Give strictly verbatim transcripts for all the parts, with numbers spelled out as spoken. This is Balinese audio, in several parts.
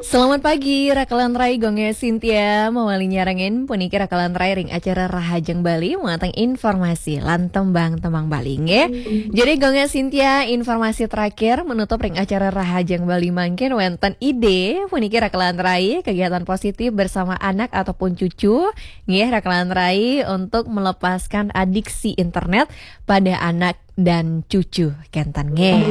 Selamat pagi, Rakalan Rai, Gonge Sintia, mawali nyarengin puniki Rakalan Rai ring acara Rahajeng Bali, muateng informasi lan tembang-tembang Bali, nggih. Jadi, Gonge Sintia, informasi terakhir menutup ring acara Rahajeng Bali mangkin wenten ide puniki Rakalan Rai, kegiatan positif bersama anak ataupun cucu, nggih, Rakalan Rai, untuk melepaskan adiksi internet pada anak dan cucu kenten, nggih.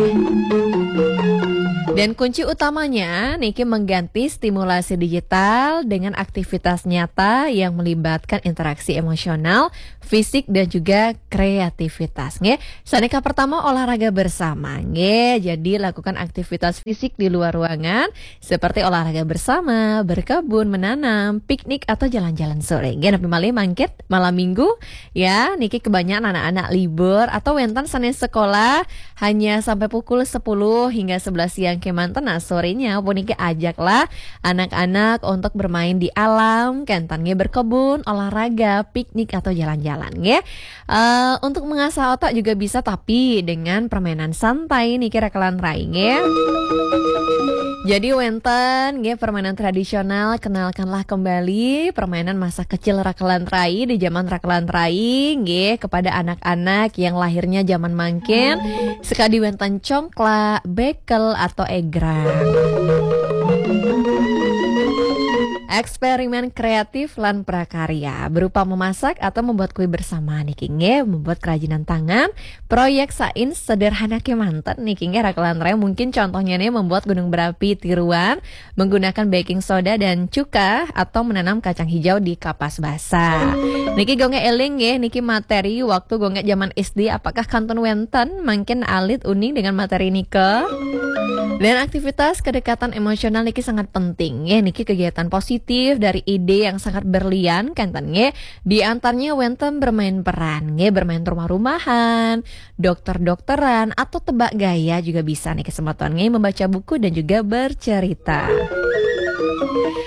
Dan kunci utamanya niki mengganti stimulasi digital dengan aktivitas nyata yang melibatkan interaksi emosional, fisik, dan juga kreativitas, nggih. Sanika pertama, olahraga bersama, nggih. Jadi, lakukan aktivitas fisik di luar ruangan seperti olahraga bersama, berkebun, menanam, piknik, atau jalan-jalan sore, nggih. Napi malih mangkin malam minggu, ya, niki kebanyakan anak-anak libur atau wenten sanes sekolah hanya sampai pukul sepuluh hingga sebelas siang kemanten. Nah, sorenya puniki ajaklah anak-anak untuk bermain di alam, kenten, nggih, berkebun, olahraga, piknik, atau jalan-jalan, nggih. Eh, untuk mengasah otak juga bisa, tapi dengan permainan santai niki, Rakalan Rai, nggih. Jadi, wenten, nggih, permainan tradisional, kenalkanlah kembali permainan masa kecil Rakalan Rai di zaman Rakalan Rai, nggih, kepada anak-anak yang lahirnya zaman mangkin, sekadi wenten congklak, bekel, atau egrang. Eksperimen kreatif lan prakarya berupa memasak atau membuat kue bersama niki, nggih, membuat kerajinan tangan, proyek sains sederhana kemanten niki, nggih, Rakalan Rai. Mungkin contohnya nih, membuat gunung berapi tiruan menggunakan baking soda dan cuka atau menanam kacang hijau di kapas basah. Niki Gonge eling, nggih, niki materi waktu Gonge zaman S D, apakah kantun wenten mangkin alit uning dengan materi nika? Dan aktivitas kedekatan emosional niki sangat penting, nggih. Niki kegiatan positif dari ide yang sangat berlian, kenten, nggih. Di antaranya wenten bermain peran, nggih, bermain rumah-rumahan, dokter-dokteran, atau tebak gaya juga bisa niki, semeton, nggih, membaca buku dan juga bercerita.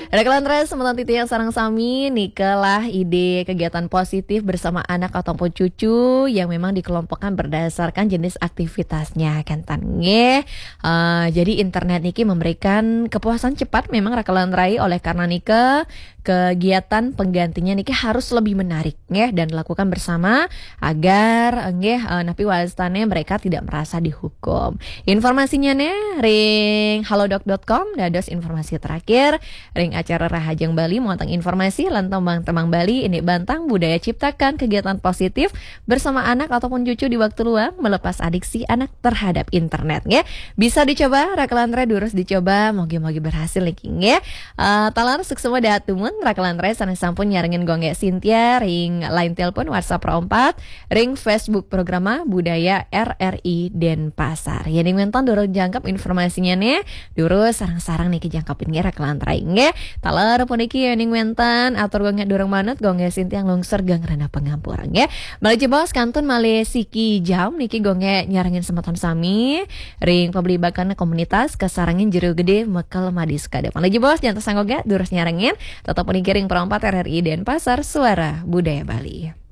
Rakalan Rai, semeton titiang sareng sami, nikalah ide kegiatan positif bersama anak ataupun cucu yang memang dikelompokkan berdasarkan jenis aktivitasnya, kenten, nggih. Eh, jadi, internet niki memberikan kepuasan cepat memang, Rakalan Rai, oleh karena nika kegiatan penggantinya niki harus lebih menarik, nggih, dan dilakukan bersama agar, nggih, eh, napi wastane mereka tidak merasa dihukum. Informasinya nih ring halodoc dot com, dados informasi terakhir ring acara Rahajeng Bali, muateng informasi lan tembang-tembang Bali, ini bantang budaya ciptakan kegiatan positif bersama anak ataupun cucu di waktu luang, melepas adiksi anak terhadap internet, nggih. Bisa dicoba, Rakalan Rai, durus dicoba, mogi-mogi berhasil niki, nggih. Eh, taler suksma dahat dumun, Rakalan Rai sanes sampun nyarengin Gonge Sintia ring line telepon WhatsApp Pro empat, ring Facebook Programa Budaya R R I Denpasar. Yening wenten durung jangkep informasinya nih, durus sareng-sareng niki jangkepin, nggih, Rakalan Rai, nggih. Taler puniki yening wenten atur Gonge durung manut, Gonge Sintia nglungsur geng rena pangampura, nggih. Malih jebos kantun malih siki jam niki Gonge nyarengin semeton sami ring pablibakan komunitas kasarengin Jero Gede Mekel Madi Sukade. Malih jebos jantos angoga durus nyarengin, tetep puniki ring Pro empat R R I Denpasar, Suara Budaya Bali.